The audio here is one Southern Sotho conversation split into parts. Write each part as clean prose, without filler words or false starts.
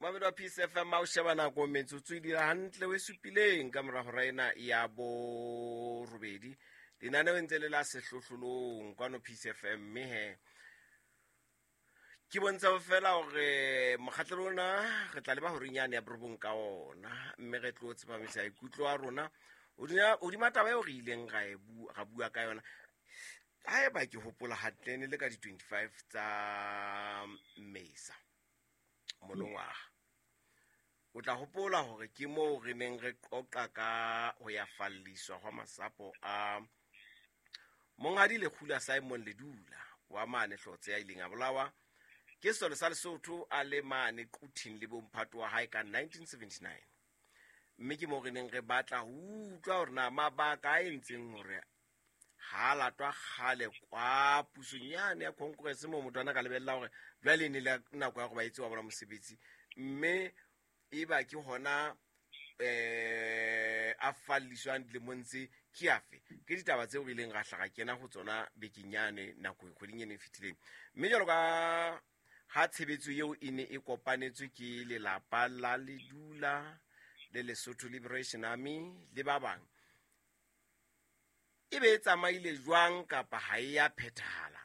Mamedi wa Peace FM, a o sheba nako metsotso e dira hantle o e supileng ka mora hora ena ya borobedi. Lenaneo e ntse le la sehlohlolong kwano Peace FM, mme he ke bontsha fela hore mokgatlelo ona re tla leba horeng yane ya borobong ka ona, mme re tlo tsepamisa ikutlo a rona hodima taba eo re ileng ra bua ka yona. Haeba ke hopola hantle, ne le ka di-25 tsa Mmesa monongwaga. O tla hopola hore ke moo re neng re qoqa ka ho ya falliswa hwa masapo a Monghadi Lekgula Simon Ledula wa mane Hlotse, ya ileng a bolawa ke sesole sa Lesotho a le mane Quthing le bomphato wa hae ka 1979. Mme ke moo re neng re batla ho utlwa hore na mabaka a entseng hore ha latwa kgale kwa pusong yane ya Congress, moo motho ana ka lebella hore jwale e ne le nako ya gore ba etse wa bona mosebetsi, mme e ba ke hona a falliswang dilemong tse ke afe. Ke ditaba tseo re ileng ra hlaga kena ho tsona bekeng yane nako kgweding eno e fetileng. Mme jwalo ka ha tshebetso eo e ne e kopanetswe ke lelapa la Ledula le Lesotho Liberation Army le ba bang, e be e tsamaile jwang kapa ha e ya phethahala?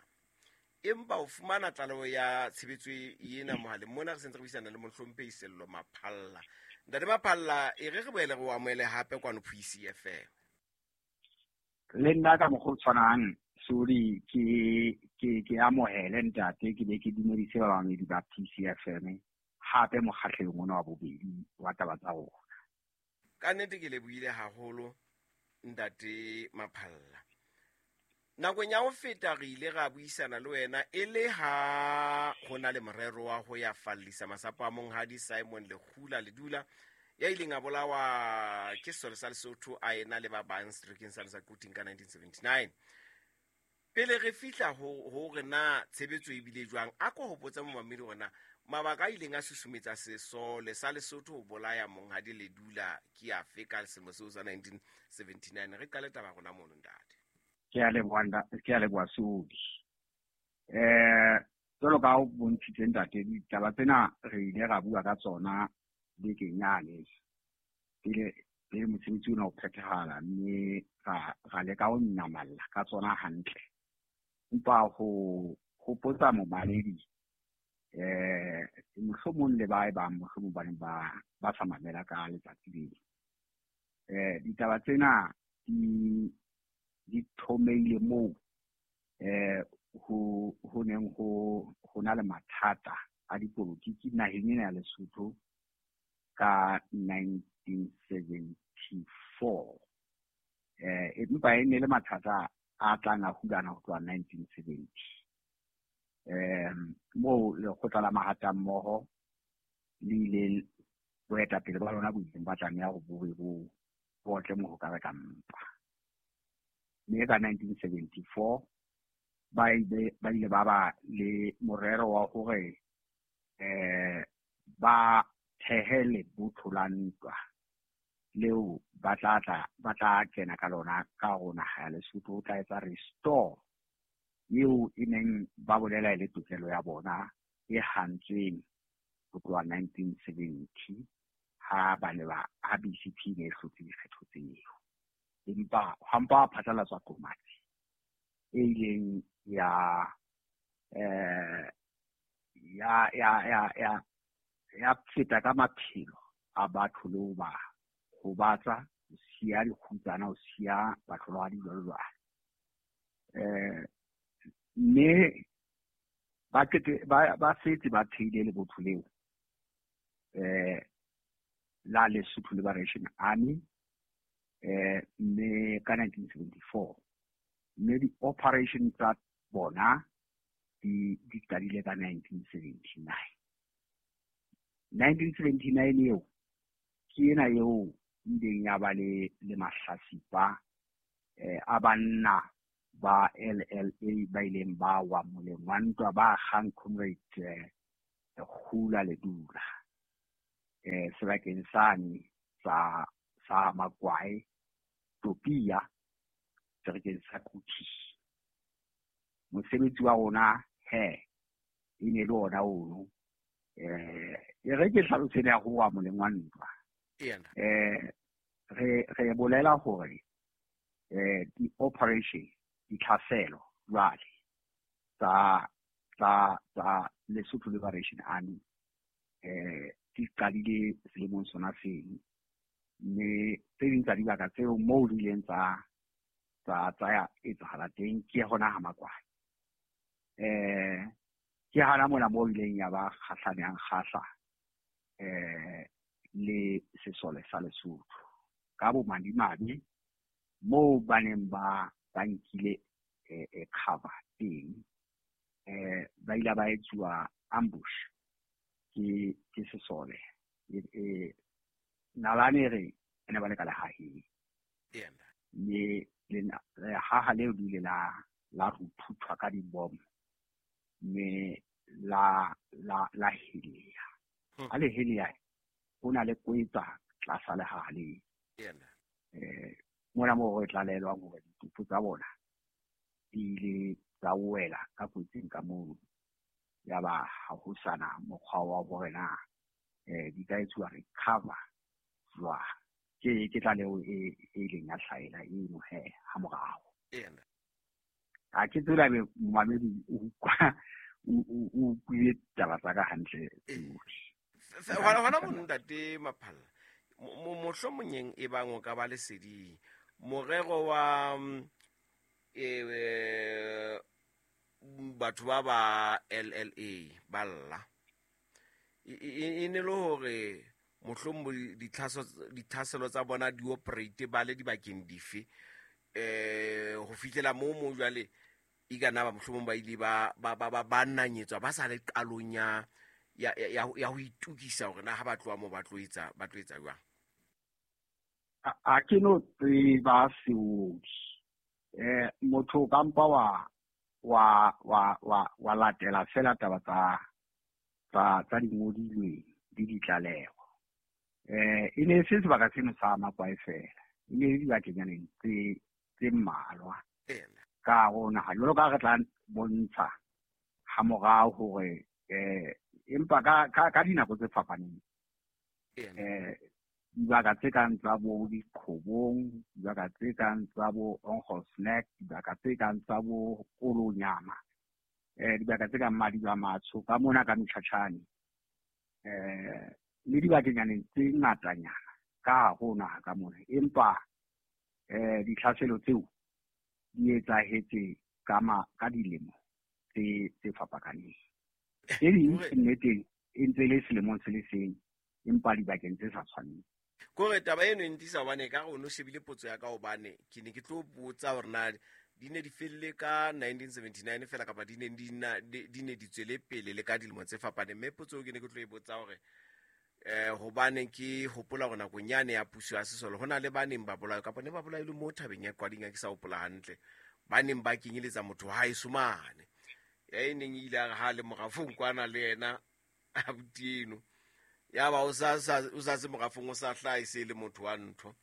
Empa o fumana tlaleho ya tshebetso ena mohaleng mona, re sentse re buisana le mohlomphehi Sello Maphalla. Ntate Maphalla, e re re boele re o amohele hape kwano Peace FM. Le nna ka mokgwa o tshwanang, sorry, ke amohele ntate, ke be ke dumedise bamamedi ba Peace FM hape mokgahlelong ona wa bobedi wa taba tsa rona. Ka nnete ke lebohile haholo ntate Maphalla. Nakong ya ho feta re ile ra buisana le wena e le ha ho na le morero wa ho ya fallisa masapo a Monghadi Simon Lekgula Ledula, ya ileng a bolawa ke sesole sa Lesotho a ena le ba bang seterekeng sa Quthing ka 1979. Pele re fihla ho re na tshebetso e bile jwang, a ko hopotsa momamedi hore na mabaka a ileng a susumetsa sesole sa Lesotho ho bolaya Monghadi Ledula ke afe ka selemo seo sa 1979. Re qale taba rona mono, ntate. Ke a leboha, ke a leboha Sodi. Jwalo ka o bontshitse ntate, ditaba tsena re ile ra bua ka tsona bekeng yane pele mosebetsi ona o phethahala, mme ra leka ho nyamalla ka tsona hantle. Empa ho hopotsa momaledi, mohlomong le ba e bang mohlomong ba neng ba sa mamela ka letsatsi leo. Ditaba tsena di thomeile moo ho neng ho na le mathata a dipolotiki naheng ena ya Lesotho ka 1974. Empa e ne le mathata a tlang a hulana ho tloha 1970. Moo lekgotla la mahatammoho le ile boetapele ba lona bo ileng ba tlameha hore bo be bo otle mohokare ka mpa. Mme ka 1974 ba ile ba ba le morero wa hore ba thehe lebotho la ntwa leo ba tla kena ka lona ka ho naha ya Lesotho, o tla etsa restore eo e neng ba bolela e le tokelo ya bona e hantsweng ho tloha 1970 ha ba ne ba ha BCP ne e hlotse dikgetho tseo. Empa ha mpa ha phatlalatswa qomatsi e ileng ya ya feta ka maphelo a batho le ho ba hobatsa, ho siya dikgutsana, ho siya bahlolohadi jwalo jwalo. Mme ba setse ba theile lebotho leo la Lesotho Liberation Army, mme ka 1974, mme di-operation tsa bona di qadile ka 1979. 1979 eo ke ena eo ileng ya ba le mahlasipa a banna ba LLA ba ileng ba wa moleng wa ntwa ba kgang Comrade Kgula Ledula sebakeng sane sa Makwae Topia seterekeng sa Quthing. Mosebetsi wa rona he e ne le ona ono. E re ke hlalose ya ho wa moleng wa ntwa. Re bolela hore di-operation, ditlhaselo jwale tsa Lesotho Liberation Army di qadile selemong sona seno, mme tse ding tsa dibaka tseo moo di ileng tsa etsahala teng ke hona ha Makwai. Ke hana mona moo ileng ya ba kgahlaneng kgahla le sesole sa Lesotho ka bomadimabe moo ba neng ba nkile cover teng, ba ile ba etsuwa ambush ke sesole. Nalane re ne ba le ka lehaheng, mme lehaha leo le ile la ruthuthwa ka dibomo, mme la helea. Ha le helea, ho na le kwetsa tlasa lehaha leo. Mona moo re tlalelwang hore ditopo tsa bona di ile tsa wela ka kotsing ka mono, ya ba ha ho sana mokgwa wa hore na di ka etsuwa recover jwang. Ke tlaleho e ileng ya hlahela eno he ha morao. Ha ke tsela be momamedi o utlwile taba tsa ka hantle. Hona mono ntate Maphalla, mohlomong e bang o ka ba leseding morero wa batho ba LLA ba lla e ne le hore mohlomong ditlhaselo tsa bona di operate ba le dibakeng dife ho fihlela moo jwale e ka nna ba mohlomong ba ile ba nanyetswa ba sa le qalong ya ho itukisa hore na ha ba tloha moo ba tlo etsa jwang. A ke no tseba seodi. Motho ka mpa wa latela fela taba tsa dingodilweng le ditlaleho. E ne se sebaka seno sa Makwai fela, e ne le dibakenyaneng tse mmalwa ka ho naha jwalo ka re tla bontsha ha morao hore empa ka dinako tse fapaneng dibaka tse kang tsa bo Diqhobong, dibaka tse kang tsa bo Onkgosnek, dibaka tse kang tsa bo Kolonyama, dibaka tse kang Madiba Matsho ka mona ka Mtjhatjhane, le dibakenyaneng tse ngatanyana ka ho naha ka mona. Empa ditlhaselo tseo di etsahetse ka dilemo tse fapakaneng. Tse ding nneteng e ntse le selemong se le seng, empa dibakeng tse sa tshwaneng. Kore taba eno e ntisa hobane ka re o no shebile potso ya ka, hobane ke ne ke tlo botsa hore na di ne di felle ka 1979 fela kapa di ne di tswele pele le ka dilemo tse fapaneng. Mme potso ke ne ke tlo e botsa hore hobane ke hopola hore nakong yane ya puso ya sesole ho na le ba neng ba bolawe kapa ne ba bolailwe mo thabeng ya Qwading, ke sa hopola hantle, ba neng ba kenyeletsa motho wa haeso mane ya e neng e ile a re ha le morafong kwana le yena abuti eno, ya ba o sa se morafong o sa hlaha e se le motho wa ntho.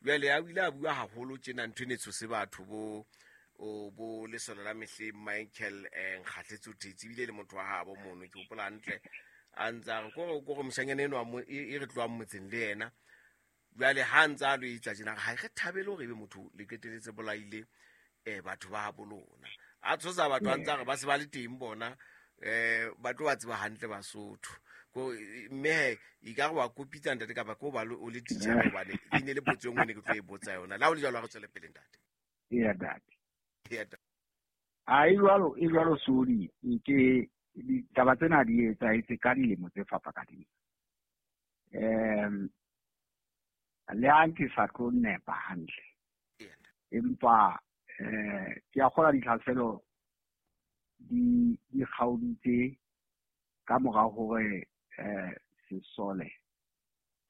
Jwale a ile a bua haholo tjena ntho e ne tshose batho bo lesole la mehleng Michael Nkgatletse o thetse ebile le motho wa habo mono, ke hopola hantle a ntse a re kore moshanyana eno e re tlohang motseng le yena. Jwale ha ntse a lo etsa tjena ha re thabele hore ebe motho le qeteletse bolaile batho ba habo lona. A tshosa batho a ntse a re ba se ba le teng bona ba tlo ba tseba hantle Basotho. Mme e ka re wa kopitsa ntate kapa ko ba o le teacher hobane e ne le potso e nngwe ne ke tlo e botsa yona. La ho le jwalo ha re tswele pele ntate. Eya ntate. A e jwalo Sodi, ke ditaba tsena di etsahetse ka dilemo tse fapakaneng. Le ha ke sa tlo nepa hantle, empa ke a kgolwa ditlhaselo di kgaoditse ka mora hore sesole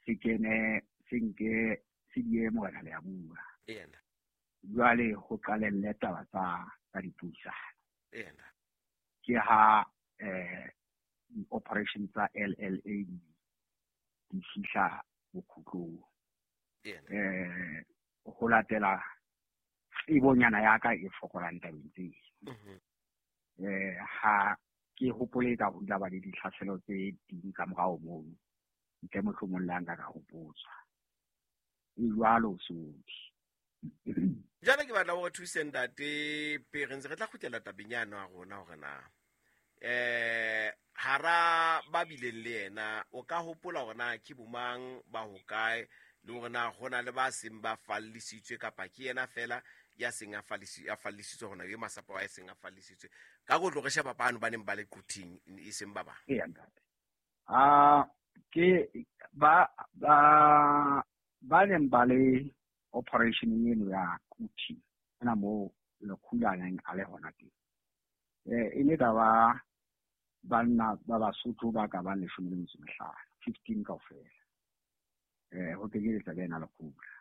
se kene se nke se die morena le ya bua. Jwale ho qalelle taba tsa dipuisano. Ke ha di-operation tsa LLA di fihla bokhutlong. Ho latela tsebonyana ya ka e fokolang tabeng tseo. Ha ke hopole ka ho ba le ditlhaselo tse ding ka morao mono ntle mohlomong le nka ka hopotswa e jwalo Seodi. Jwale ke batla hore thuse ntate pele ntse re tla kgutlela tabeng yano ya rona hore na hara ba bileng le yena o ka hopola hore na ke bomang ba hokae le hore na hona le ba seng ba fallisitswe kapa ke yena fela ya seng a fallisitswe hona e masapo a seng a fallisitswe ka go tlo re sheba bano ba neng ba le Quthing e seng ba bang. Ee ntate, ke ba ba neng ba le operation eno ya Quthing ena mo Lekgula neng a le hona teng, e ne ka ba banna ba Basotho ba ka bang 15, 15 kaofela, ho kenyeletsa le ena Lekgula.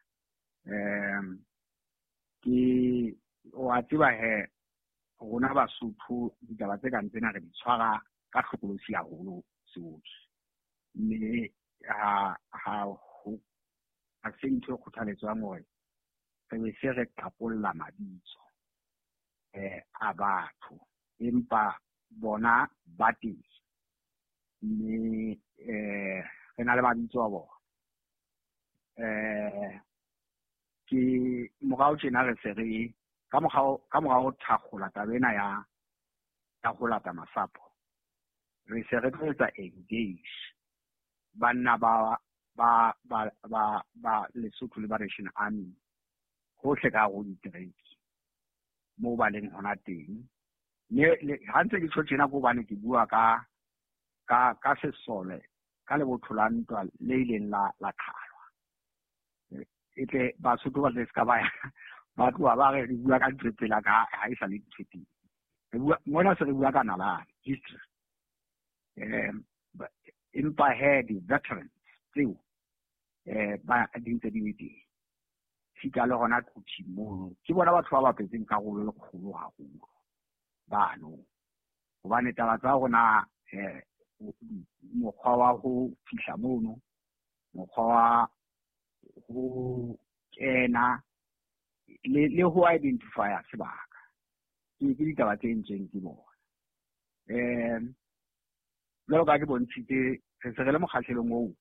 Ke wa tseba he rona Basotho ditaba tse kang tsena re di tshwara ka hlokolosi haholo Seodi, mme ha se ntho e kgothaletswang hore re be se re qapolla mabitso a batho, empa bona ba teng mme re na le mabitso a bona. Ke morao tjena re se re ka morao thakgola taba ena ya ho lata masapo, re se re tlo etsa engage banna ba ba ba ba ba Lesotho Liberation Army hohle ka ho ditereke moo ba leng hona teng. Mme ha ntse ke tjho tjena ke hobane ke bua ka ka sesole ka lebotho la ntwa le ileng la qhalwa, e tle Basotho ba tle se ka ba ba tloha ba re bua ka ntho pela ka ha e sa le ntho teng. Re bua mona se re bua ka nalane history, empa he di-veterans tseo ba di ntse di le teng sita le hona Quthing mono. Ke bona batho ba bapetseng karolo e kgolo haholo bano, hobane taba tsa rona mokgwa wa ho fihla mono, mokgwa wa ho kena le ho identify sebaka ke ditaba tse entsweng ke bona. Jwalo ka ke bontshitse re se re le mokgahlelong oo,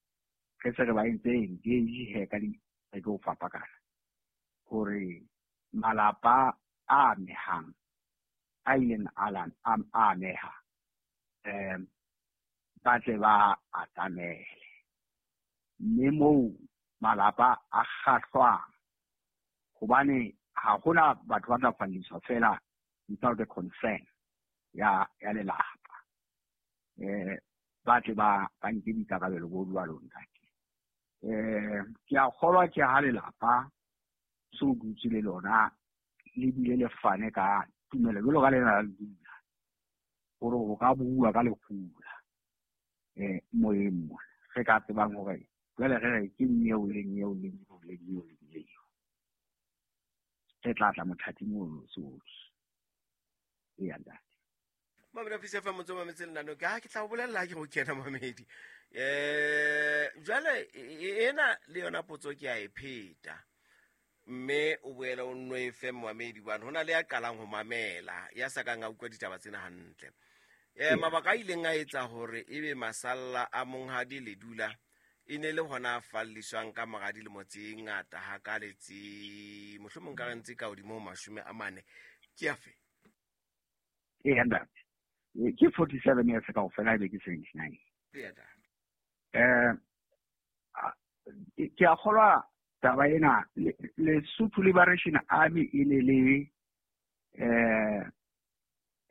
re se re ba entse engage he ka di re tlo fapakana hore malapa a amehang a ileng a ameha ba tle ba atamele, mme moo malapa a kgahlwang hobane ha hona batho ba tla falliswa fela without the concern ya lelapa, ba tle ba nke boikarabelo bo jwalo ntate. Ke a kgolwa ke ha lelapa so dutse le lona le bile le fane ka tumelo jwalo ka lena la le dula hore ho ka bua ka Lekgula moyeng mona re ka tsebang hore jwale re re ke nyeo le nyeo le nyeo le nyeo le nyeo re tla tla mothating ono Seodi. Eya ntate. Mamela Peace FM motse wa mametse lenaneo ke ha ke tla o bolella ke go kena mamedi. Jwale ena le yona potso ke a e pheta mme o boela o nno e fe mamedi bane hona le ya qalang ho mamela ya sa kang a utlwa ditaba tsena hantle. Mabaka a ileng a etsa hore ebe masalla a monghadi Ledula e ne le hona a falliswang ka mora dilemo tse ngata hakale tse mohlomong ka re ntse ka hodimo ho 40 ke afe? Ee ntate, ke 47 years kaofela ebe ke 79. Ke a kgolwa taba ena Lesotho Liberation Army e ne le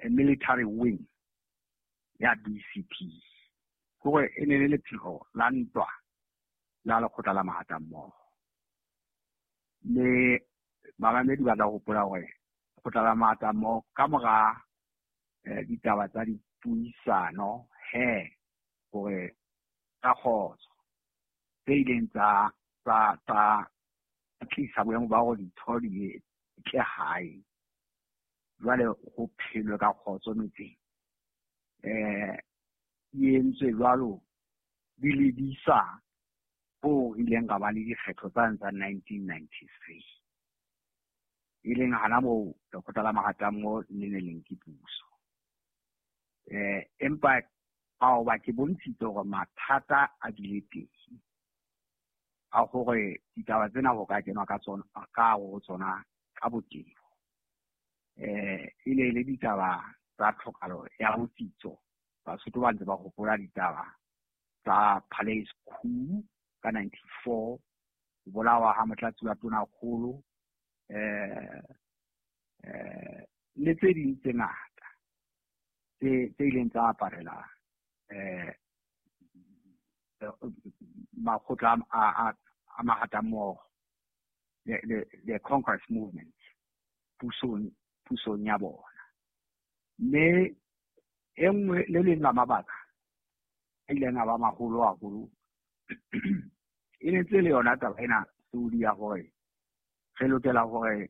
military wing ya BCP, hore e ne le lephego la ntwa la lekgotla la mahatammoho. Mme bamamedi ba tla hopola hore lekgotla la mahatammoho ka mora ditaba tsa dipuisano he hore ka kgotso tse ileng tsa tlisa boemo ba hore ditho di tle hae, jwale ho phelwe ka kgotso metseng. E entswe jwalo di lebisa ho ileng ka ba le dikgetho tsane tsa 1993, e leng hana moo lekgotla la mahatammoho le ne le nke puso. Empa ao ba ke bontshitse hore mathata a bile teng a hore ditaba tsena ho ka kenwa ka tsona ka ho tsona ka botebo. E ne le ditaba tsa tlhokalo ya botsitso. Basotho ba ntse ba hopola ditaba tsa Palace Coup ka 94, ho bolawa ha motlatsi wa tonakgolo, le tse ding tse ngata tse ileng tsa aparela makgotla a mahatammoho, the Congress movement pusong ya bona. Mme e nngwe le leng la mabaka a ileng a ba maholo haholo e ne tse le yona taba ena Saudi ya hore re lokela hore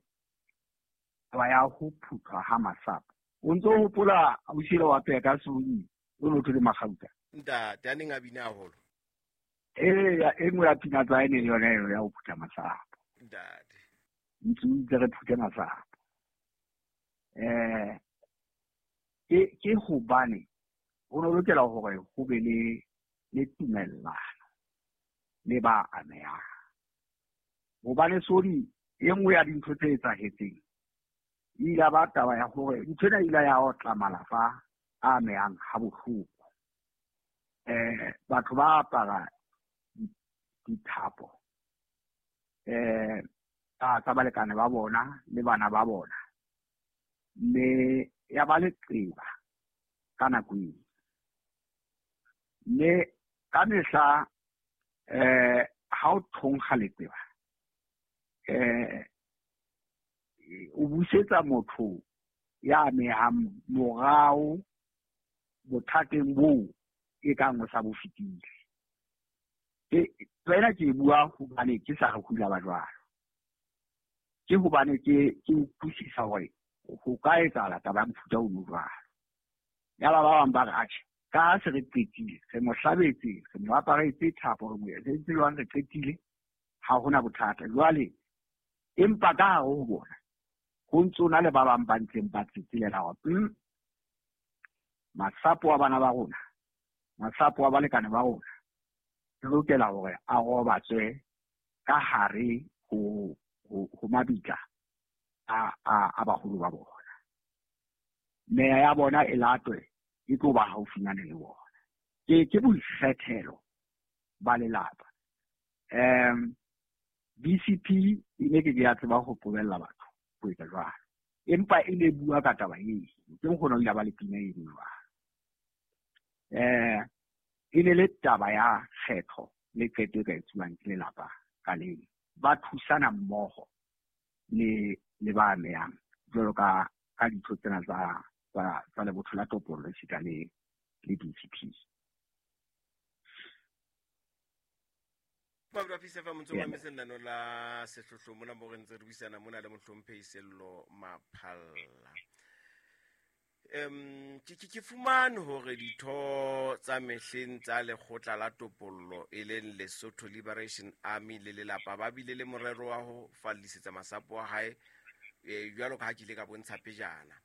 taba ya ho phuthwa ha masapo. O ntso hopola ausi wa peka Saudi o no thole Magauta? Ntate a neng a bina haholo. Ee, e nngwe ya pina tsa ene le yona eo ya ho phutha masapo. Ntate. Ntse o itse re phuthe masapo. Ke hobane ho no lokela hore ho be le tumellano le ba amehang. Hobane Sodi, e nngwe ya dintho tse etsahetseng e ile ba taba ya hore ntho ena ile ya otla malapa a amehang ha bohloko. Batho ba apara dithapo tsa balekane ba bona le bana ba bona, mme ya ba leqeba ka nako eo. Mme ka mehla ha o thonkga leqeba, o busetsa motho ya amehang morao bothateng boo e kang o sa bo fetile. Tsena ke bua hobane ke sa re hula ba jwalo. Ke hobane ke utlwisisa hore ho ka etsahala taba ya mofuta ono jwalo. Yaba ba bang ba re atjhe, ka ha se re qetile, re mo hlabetse, re mo aparetse thapo, re mo entse jwang, re qetile, ha hona bothata. Jwale empa ka hare ho bona ho ntso na le ba bang ba ntseng ba tsetselela hore masapo a bana ba rona, masapo a balekane ba rona, re lokela hore a robatswe ka hare ho mabitla a baholo ba bona. Meya ya bona e latwe e tlo ba haufinyane le bona. Ke boikgethelo ba lelapa. BCP e ne ke ya tseba ho qobella batho ho etsa jwalo. Empa e ne bua ka taba eo, ke mokgona o ile ba le pina eno jwalo. E ne le taba ya kgetho le qeto e ka etsuwang ke lelapa ka leng. Ba thusana mmoho le ba amehang jwalo ka ditho tsena tsa lebotho la topollo esita le BCP. Mabra Peace FM ntse ba mesellano la sehlohlo mona mo re ntse re buisana mona le mohlomphehi Sello Maphalla. Ke fumane hore ditho tsa mehleng tsa lekgotla la topollo e leng Lesotho Liberation Army le lelapa ba bile le morero wa ho fallisetsa masapo a hae, jwalo ka ha ke ile ka bontsha pejana,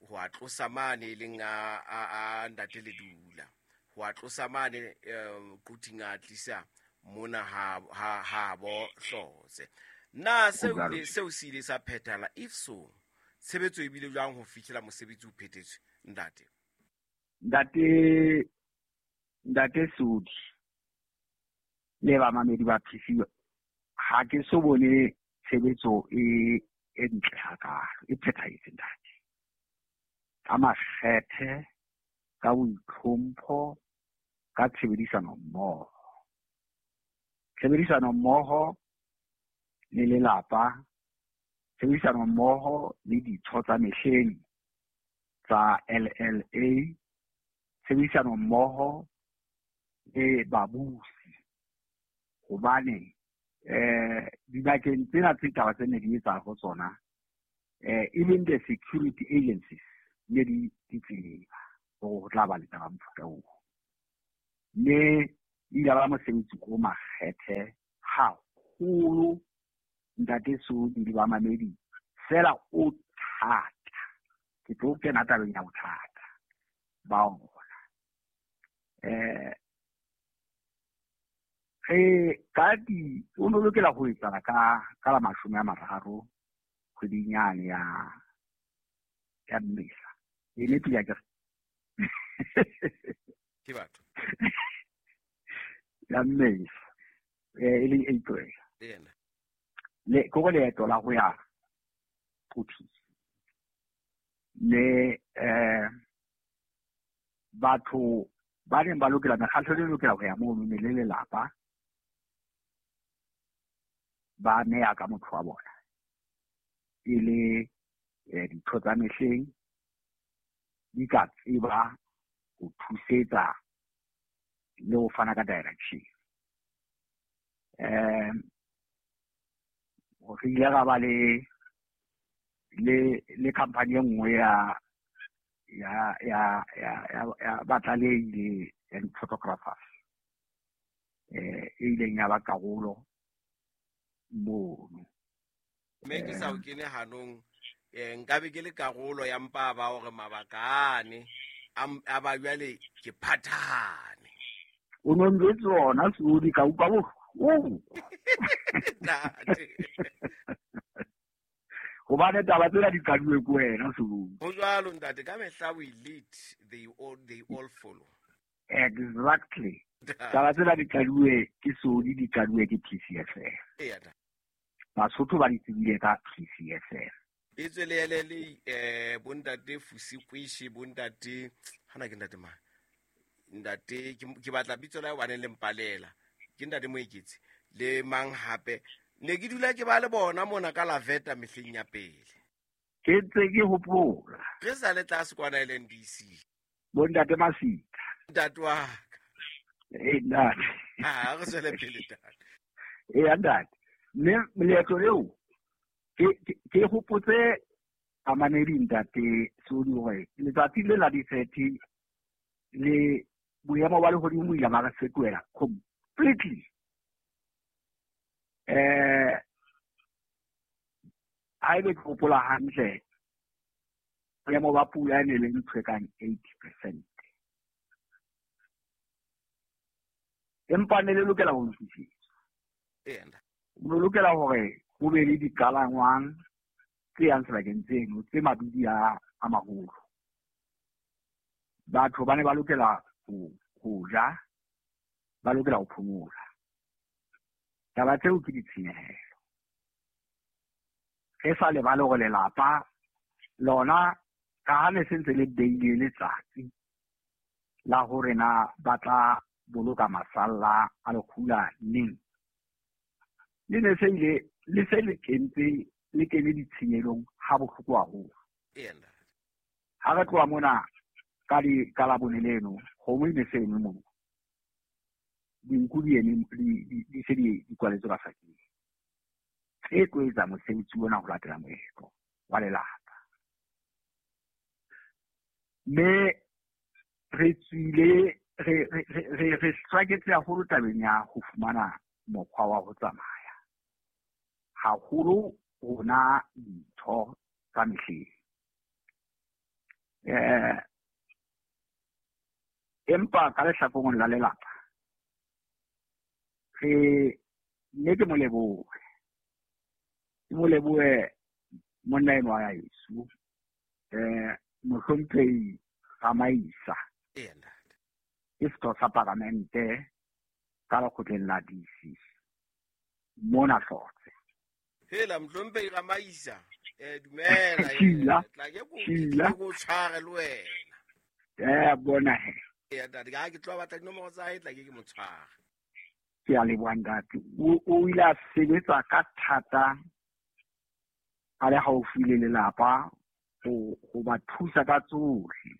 ho a tlosa mane e leng a ntate Ledula, ho a tlosa mane Quthing a tlisa mona ha bo Hlotse. Na seo se ile sa phethala? If so, tshebetso e bile jwang ho fihlela mosebetsi o phethetswe, ntate? Ntate Sodi le bamamedi ba PC, ha ke so bone tshebetso e ntle hakalo, e phethahetse ntate. Ka makgethe, ka boitlhompho, ka tshebedisano mmoho. Tshebedisano mmoho le lelapa, tshebedisano mmoho le ditho tsa mehleng tsa LLA, tshebedisano mmoho le babusi. Hobane dibakeng tsena tse taba tse ne di etsa ho tsona, even the security agencies ne di tseba hore ho tla ba le taba mofuta oo. Mme ile ba mosebetsi o makgethe haholo ntate Sodi le bamamedi, fela o thata. Ke tlo kena tabeng ya bothata. Ba ona. Re ka di o no lokela ho etsala ka la 30 kgweding yane ya Mmesa. E ne pila ke ke batho ya Mmesa e leng April. Yena le ko leeto la ho ya Quthing. Le batho ba neng ba lokela mekgatlo e lokela ho ya mono ne le lelapa ba neya ka motho wa bona e le ditho tsa mehleng di ka tseba ho thusetsa le ho fana ka direction. Re ile ra ba le company e nngwe ya batlalehi le ya di-photographers e ileng ya ba karolo mono. Mme ke sa o kene hanong, nkabe ke le karolo ya mpa ba hore mabaka ane a ba jwale ke phathahane. O no njwetse ona Sodi ka utlwa bohloko. Ntate. Hobane taba tsena di qaduwe ke wena Sodi. Ho jwalo ntate, ka mehla we lead, they all follow. Exactly. Taba tsena di qaduwe ke Sodi, di qaduwe ke PCFM. Eya. Basotho ba di tsebile ka PCFM. E tswele le bontate Fusikwishi, bontate hana ke ntate mang? Ntate ke batla bitso la hobane le mpalela. Ke ntate Moeketsi le mang hape. Ne ke dula ke ba le bona mona ka Laveta mehleng ya pele. Ke ntse ke hopola. Re sa le tlase kwana LNDC. Bontate Masika. Ntate wa ka. Ntate. Ha re tswele pele ntate. Ntate. Mme leeto leo ke hopotse bamamedi ntate Sodi hore letsatsi le la di-30 le boemo ba lehodimo bo ile ba re fetohela completely. Haebe ke hopola hantle, boemo ba pula e ne le ntho e kang 80%. Empa ne le lokela ho lokisetswa. O lokela hore ho be le dikalangwang tse yang sebakeng tseno tse mabidi a maholo. Batho ba ne ba lokela ho ja, ba lokela ho phomola. Taba tseo ke ditshenyehelo. Re sa lebale hore lelapa lona ka ha ne se ntse le beile letsatsi la hore na ba tla boloka masalla a lekgula neng, le ne se ile le se le kentse le kene ditshenyelong ha bohloko haholo. Ha re tloha mona ka di ka labone leno, kgomo e ne se eme moo, dinku di eme di se di kwaletswe ka sakeng. Tse tlo etsa mosebetsi ona ho latela moetlo wa lelapa. Mme re tswile re struggle haholo tabeng ya ho fumana mokgwa wa ho tsamaya. Haholo rona ditho tsa mehleng. Empa ka lehlakoreng la lelapa re mme ke mo lebohe. Ke mo lebohe monna enwa wa heso, mohlomphehi Ramaisa. Ke setho sa palamente ka lekgotleng la DC mona Hlotse. Hela mohlomphehi Ramaisa, dumela, tla ke go tshware le wena. Bona he. Ntate, ka ke tlo batla dinomoro tsa hae, tla ke mo tshware. Ke a leboha ntate. O ile a sebetsa ka thata a le haufi le lelapa ho ba thusa ka tsohle.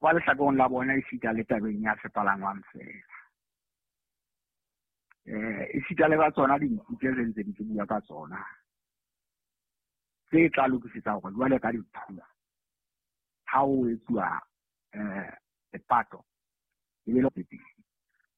Kwa lehlakoreng la bona esita le tabeng ya sepalangwang fela. Esita le ka tsona dinku tse re ntseng ke bua ka tsona tse tla lokisetsa hore jwale ka diphula ha o etsuwa lepato e be le pele.